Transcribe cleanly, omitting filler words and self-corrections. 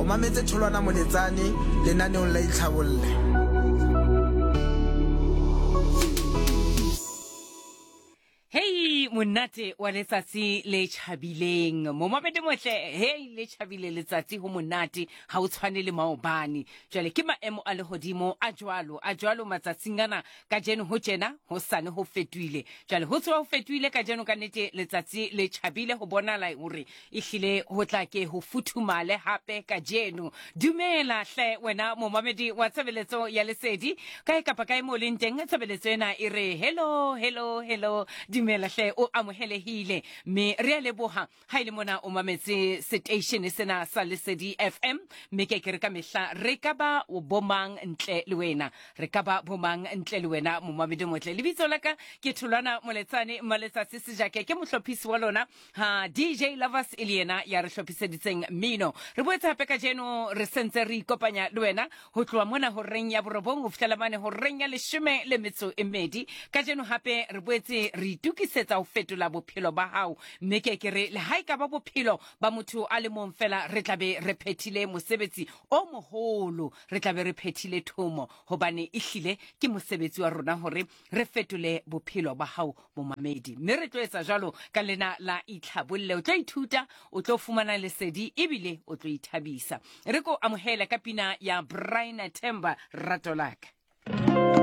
mametse Tholwana Moletsane lenaneong la Itlhabolle. Hei monate wa letsatsi le tjhabileng momamedi motle hei le tjhabile letsatsi ho monate ha o tshwane le maobane jwale ke maemo a lehodimo a jwalo a jwalo matsatsing ana kajeno ho tjena ho sane ho fetohile jwale ho tsoha ho fetohile kajeno ka nnete letsatsi le tjhabile ho bonala hore ehlile ho tla ke ho futhumale hape kajeno dumela hle wena momamedi wa tshebeletso ya lesedi kae kapa kae mo leng teng tshebeletso ena e re hello hello hello dumela hle o amohelehile mme re a leboha ha e le mona o mametse seteishene sena sa Lesedi FM, mme ke ke re ka mehla re ka ba bomang ntle le wena, re ka ba bomang ntle le wena momamedi motle. Lebitso la ka ke Tholwana Moletsane Maletsatsi Sejake, ke mohlophisi wa lona ha DJ Lovers e le yena ya re hlophiseditseng mmino. Re boetse hape kajeno re sentse re ikopanya le wena ho tloha mona horeng ya borobong ho fihlela mane horeng ya leshome le metso e mmedi. Kajeno hape re boetse re itokisetsa ho fetola bophelo ba hao, mme ke ke re le ha e ka ba bophelo ba motho a le mong fela, re tla be re phethile mosebetsi o moholo, re tla be re phethile thomo, hobane ehlile ke mosebetsi wa rona hore re fetole bophelo ba hao momamedi. Mme re tlo etsa jwalo ka lena la Itlhabolle. O tlo ithuta, o tlo fumana lesedi, ebile o tlo ithabisa. Re ko amohele ka pina ya Brian Themba, Rato Laka.